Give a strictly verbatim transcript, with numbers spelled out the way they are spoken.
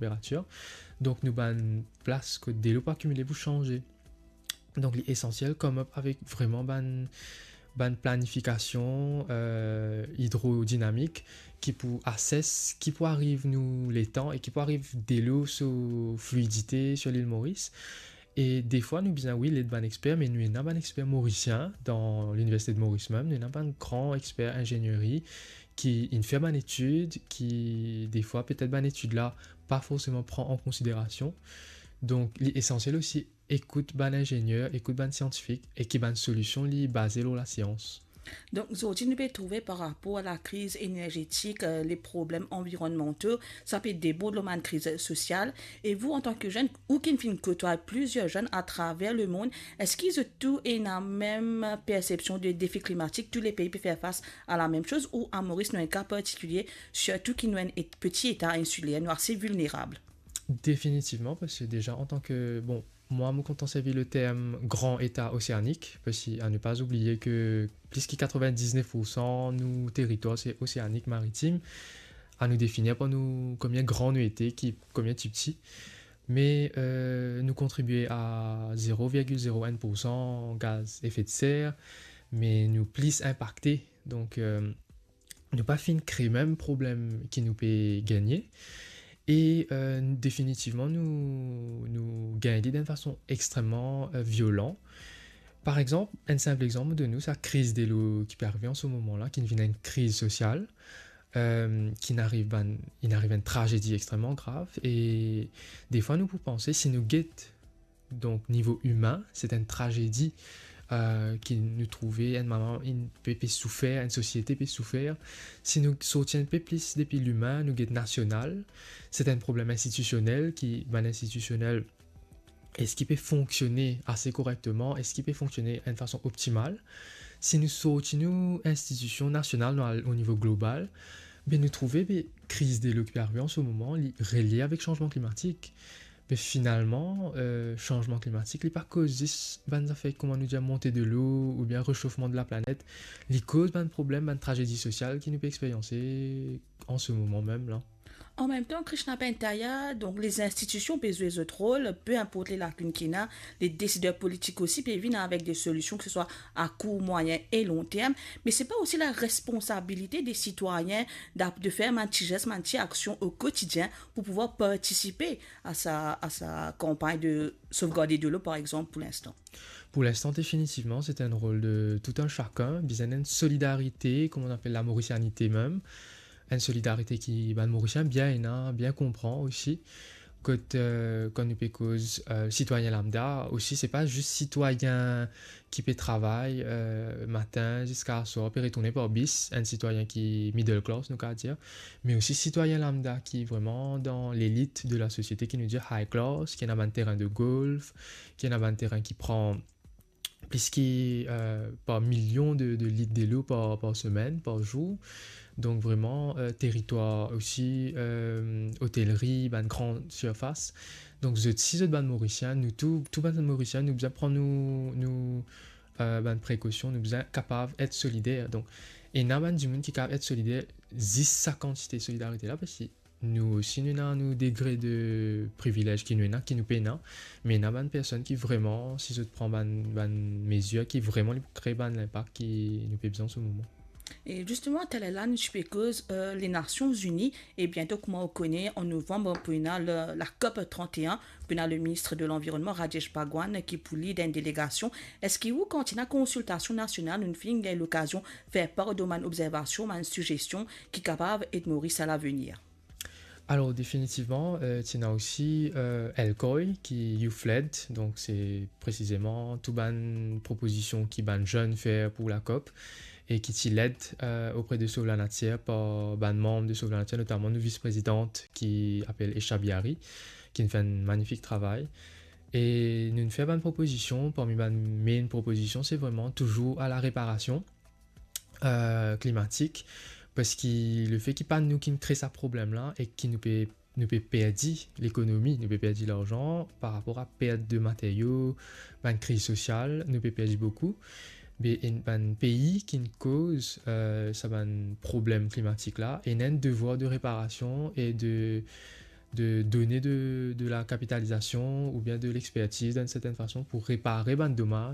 tanperatir. Donk nou bann plas kot delo pou akimile pou sanze. Donk li esansiel come up avek vreman bann bann planifikasion, eh, idrodinamik ki pou assess ki pou ariv nou letan e ki pou ariv delo so fluidite sir lil Moris. E defwa nou bizin, wi, led bann exper, me nou ena bann exper morisien dan Liniversite de Moris mem, nou ena bann gran exper inzenieri ki inn fer bann etid, ki defwa petet bann etid la pa forseman pran an konsiderasion. Donk li esansiel osi ekout bann inzenier, ekout bann siantifik e ki bann solision li baze lor lasians. Donk zordi nou pe trouve par rapor a lakriz enerzetik, eh, le problem anvironmanto, sa pe debord lor bann kriz sosial. E vou, antan ke zenn, ou ki finn kotway plizier zenn atraver lemond, eski zot tou ena mem persepsion de defi klimatik? Tou le pei pe fer fas a lamem soz, ou a Moris nou enn ka partikilie, sirtou ki nou enn et-, peti eta insiler, nou ase vilnerab? Definitivman, parski deza antan ke, bon, mwa mo kontan servi le term gran eta oseanik, parski a ne pa oubliye ke plis ki katrevindiznef poursan nou teritwar se oseanik, maritim. A nou definir par nou komie gran nou ete, ki komie tipti. Me, eh, nou kontribie a zero virgil zero enn poursan gaz efe de ser, me nou plis inpakte. Donk, eh, nou pa finn kre mem problem ki nou pe gagne. E, eh, definitivman, nou, nou gagn li dan enn fason extreman, eh, violan. Par exanp, enn sinp exanp mo donn ou, sa kriz delo ki pe arive an se moman la, ki vinn enn kriz sosial, eh, ki inn ariv bann, inn ariv enn trazedi extreman grav. E defwa nou pou panse, si nou get, donk nivo imin, se enn trazedi, eh, ki nou trouve, enn mama, inn pe, pe soufer, enn sosiete pe soufer. Si nou sorti enn pe plis depi limin, nou get nasional, se enn problem institisionel, ki bann institisionel, eski pe fonksione ase korekteman, eski pe fonksione enn fason optimal. Si nou sorti nou institision nasional, nou al o nivo global, be nou trouve, be, kriz delo ki pe arive an se moman, li relie avek sanzman klimatik. Me finalman, eh, sanzman klimatik, li pa koz zis bann zafer, kouma nou dir, monte delo oubien resofman de laplanet. Li koz bann problem, bann trazedi sosial ki nou pe experyanse an se moman mem la. An mem tan, Krishna Bentaya, donk, les institutions pe zwe zot rol, pe inport le lakinn ki ena, les décideurs politiques osi pe vinn avek de solision, ke se swa a kour, mwayin e lon term, me se pa osi la responsabilite de sitwayin dap-, de fer bann ti zes, bann ti aksion o kotidien pou pouvwar partisipe a sa, a sa kanpagn de sovgarde delo, par exanp, pou linstan? Pou linstan, definitivman, se enn rol de tou enn sakenn, bizin enn solidarite, kouma nou apel la morisianite mem, enn solidarite ki bann Morisien bien ena, bien konpran osi. Kot, eh, kan nou pe koz, eh, sitwayin lambda osi, se pa zis sitwayin ki pe travay, eh, matin ziska swar, pe retourne par bis, enn sitwayin ki middle class, nou kav dir, me osi sitwayin lambda ki vreman dan lelit de lasosiete, ki nou dir high class, ki ena bann terin de golf, ki ena bann terin ki pran plis ki, eh, par milion de, de lit delo par, par semenn, par zour. Donk vreman, eh, teritwar osi, eh, otelri, bann gran sirfas. Donk zot, si zot bann Morisien, nou tou, tou bann Morisien, nou bizin pran nou, nou, eh, bann prekosion, nou bizin kapav et solider. Donk ena bann dimoun ki kav et solider, zis sa kantite solidarite la, parski nou osi, nou ena nou degre de privilez ki nou ena, ki nou pena, me ena bann personn ki vreman, si zot pran bann, bann mezir, ki vreman li pou kre bann linpak ki nou pe bizin an se moman. E zisteman, taler la, nou ti pe koz, eh, Lenasion Zini, e biento, kouma ou kone, an novanm, pou ena le, la COP trente et un, pou ena le minis de lanvironnman, Rajesh Bhagwan, ki pou lid enn delegasion. Eski ou, kan ti ena konsiltasion nasional, nou finn gagn lokazion fer par de bann obzervasion, bann sizestion ki kapav ed Moris a lavenir? Alor, definitivman, eh, ti ena osi, eh, ELCOI, ki Youth Led, donk se presizeman tou bann propozision ki bann zenn fer pou la COP, e ki ti led, eh, opre de Sauve la Nature par bann manm de Sauve la Nature, notaman nou vis-prezidant ki apel Esha Bihari, ki finn fer enn manifik travay. E nou finn fer bann propozision, parmi bann main propozision, se vreman touzour a la reparasion, eh, klimatik, parski lefe ki pa nou ki kre sa problem la e ki nou pe, nou pe perdi lekonomi, nou pe perdi larzan par rapor a pert de materio, bann kriz sosial, nou pe perdi boukou. Be, enn bann pei ki koz, eh, sa bann problem klimatik la, ena enn devwar de reparasion e de, de donner de, de la capitalisation ou bien de l'expertise d'une certaine façon pour réparer bann domaz